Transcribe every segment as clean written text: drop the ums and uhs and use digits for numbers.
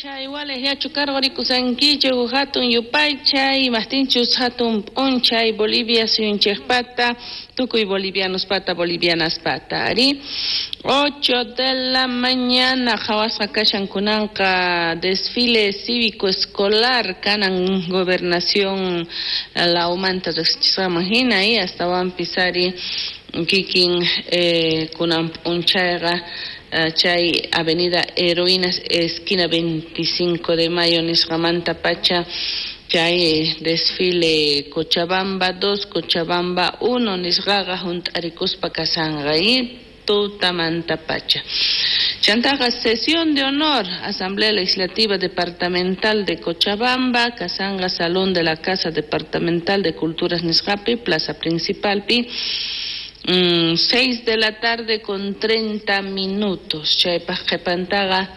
P'unchay walejllachu karqurikusankichik hatun yupaychay, imajtinchus hatun p'unchay Bolivia suyunchikpata, tukuy bolivianospata, bolivianaspata, ari. 8 de la mañana qhawasqa kashan kunanqa desfile cívico escolar kanan gobernación lawmanta riqsichisqaman hina y astawanpis ari kikin kunan p'unchayqa chay Avenida Heroínas esquina 25 de Mayo nisqamanta pacha chay desfile Cochabamba 2, Cochabamba 1 nisqaqa hunt'arikuspa kasanqa y tutamanta pacha. Chantaqa sesión de honor, Asamblea Legislativa Departamental de Cochabamba, kasanqa Salón de la Casa Departamental de Culturas nisqapi, Plaza Principalpi, 6 de la tarde con 30 minutos. Chaypaq qhipantaqa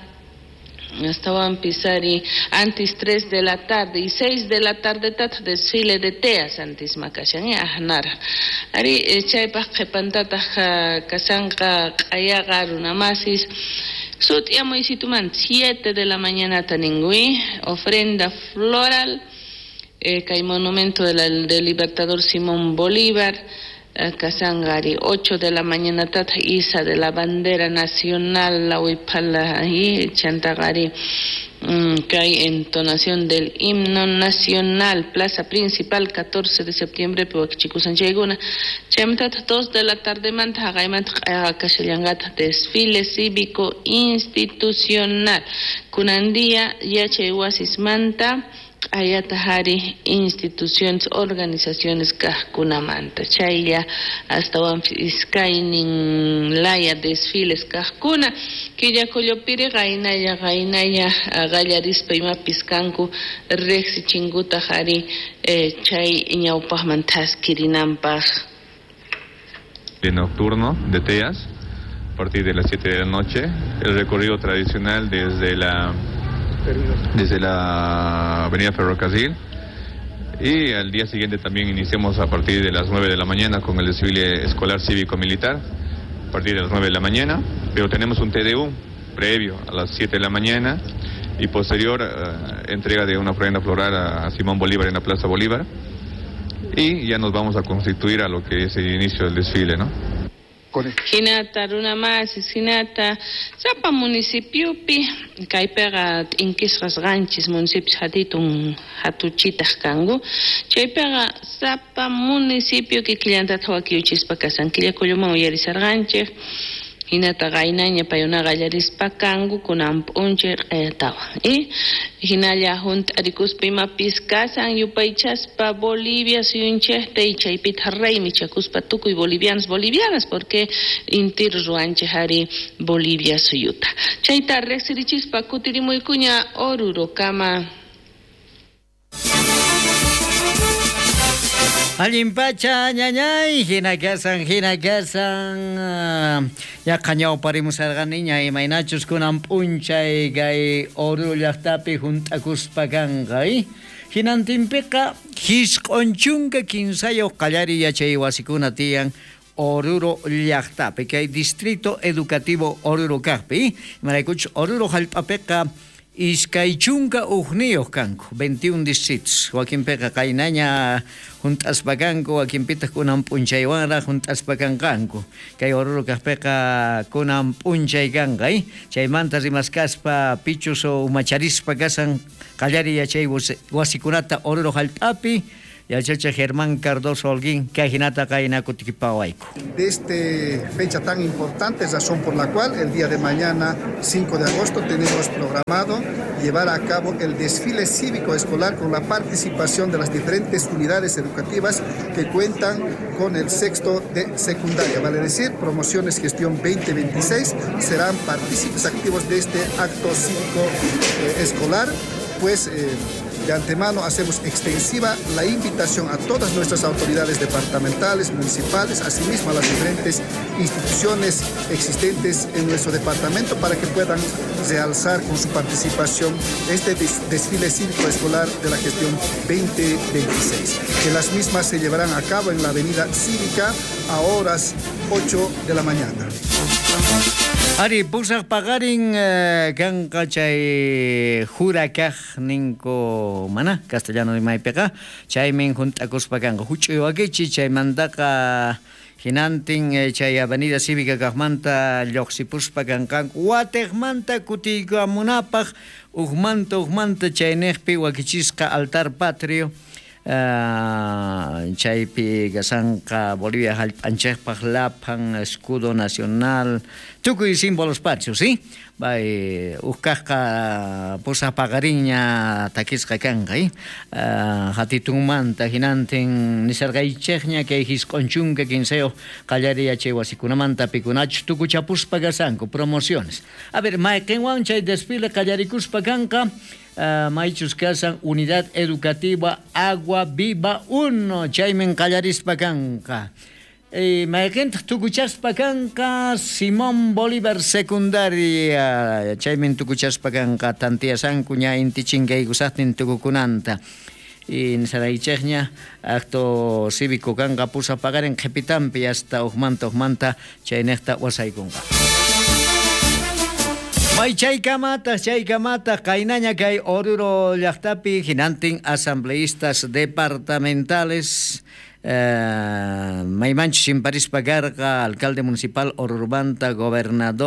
astawanpis ari antes 3 de la tarde y 6 de la tarde tataq desfile de teas antisma kashan ajnara. Ari chaypaq qhipantataq kasanqa q'ayaqa runamasis sut'iamuysitumanta 7 de la mañana taninwi ofrenda floral kay monumento del Libertador Simón Bolívar. Kasangari 8 de la mañana tata isa de la bandera nacional la huipala y chantagari kay entonación del himno nacional plaza principal 14 de septiembre piwakichikusanchaykuna chaymantata 2 de la tarde manta haqaymanta kashallanqataq desfile cívico institucional kunan día yachay wasismanta q'ayata hari instituciones, organizaciones kajkunamanta chaylla astawanpis iskaynin laya desfiles kajkuna Quillacollopiri qaynalla qaynalla qallarispa imapis kanku riqsichinkutaq ari chay ñawpaqman thaskirinanpaq. De nocturno de Teas a partir de las 7 de la noche, el recorrido tradicional desde la avenida Ferrocarril, y al día siguiente también iniciamos a partir de las 9 de la mañana con el desfile escolar cívico-militar, a partir de las 9 de la mañana, pero tenemos un TDU previo a las 7 de la mañana y posterior entrega de una ofrenda floral a Simón Bolívar en la Plaza Bolívar, y ya nos vamos a constituir a lo que es el inicio del desfile, ¿no? Hinata runamasis hinata sapa municipiopi kaypiqa t'inkisqas qanchis municipios hatitun hatuchitaq kanku chaypiqa sapa municipio kikillantataq wakiyuchispa kasan Quillacolloman uyarisarqanchik hinata qaynaña paykunaqa qallarispa kanku kunan p'unchay q'ayatawan y hinalla hunt'arikuspa imapis kasan yupaychaspa Bolivia suyunchikta y chaypitaq raymichakuspa tukuy bolivianos bolivianas porque intir ruwanchik ari Bolivia suyuta chayta riqsirichispa kutirimuykuña Orurokama. Allin pacha ñañay, hina kasan, yaqa ñawparimusarqaniña imaynachus kunan p'unchay kay Oruro llaqtapi hunt'akuspa kanqa, hinantinpiqa 93 qallariy yachay wasikuna tiyan Oruro llaqtapi, kay Distrito Educativo Oruro kaqpi, imaraykuchus Oruro hallp'apiqa 21 kanku, 21 distritos. Wakinpiqa qaynaña hunt'aspa kanku, wakinpitaq kunan p'unchaywanraq hunt'aspa kanqanku. Kay Oruro kaqpiqa kunan p'unchay kanqa, chaymanta rimaskaspa pichus umacharispa kasan qallariy yachay wasikunata Oruro hallp'api yachachiq Germán Cardoso Holguín, kay hinata qayna kutikipawayku. De esta fecha tan importante, razón por la cual el día de mañana, 5 de agosto, tenemos programado llevar a cabo el desfile cívico escolar con la participación de las diferentes unidades educativas que cuentan con el sexto de secundaria, vale decir, promociones gestión 2026, serán partícipes activos de este acto cívico escolar, pues de antemano hacemos extensiva la invitación a todas nuestras autoridades departamentales, municipales, asimismo a las diferentes instituciones existentes en nuestro departamento para que puedan realzar con su participación este desfile cívico escolar de la gestión 2026, que las mismas se llevarán a cabo en la avenida Cívica a horas 8 de la mañana. Ari, pusaq paqarin kanqa chay jurakaj ninku mana castellano rimaypiqa, chaymin junt'akuspa kanqa huch'uy wakichi, chaymantaqa hinantin chay avenida cívica kaqmanta lluqsipuspa kanqanku watiqmanta kutiykamunapaq ujmanta ujmanta chayniqpi wakichisqa altar patrio, chaypi kasanqa Bolivia hallp'anchikpaq laphan escudo nacional tukuy símbolos patrios, ¿sí? Bay ukkaqqa pusaq paqarinña takisqa kanqa, ¿eh? Hatitunmanta hinantin nisarqaychikña kay 93 qallariy yachay wasikunamanta pikunachus tukuchapuspa kasanku promociones. A ver, mayqinwan chay desfile qallarikuspa kanqa, maychus kasan Unidad Educativa Agua Viva 1, chaymin qallarispa kanqa. Mayqintaq tukuchaspa kanqa Simón Bolívar Secundaria, chaymin tukuchaspa kanqa tantiyasanku ña inti chinkaykusaqtin tukukunanta. Y nisaraychikña acto cívico kanqa pusaq paqarin qhipitanpi hasta ujmanta ujmanta chayniqta wasaykunqa. May chaykamataq chaykamataq qaynaña kay Oruro llaqtapi hinantin asambleístas departamentales, maymanchus chimparispa karqa alcalde municipal Orurumanta, gobernador.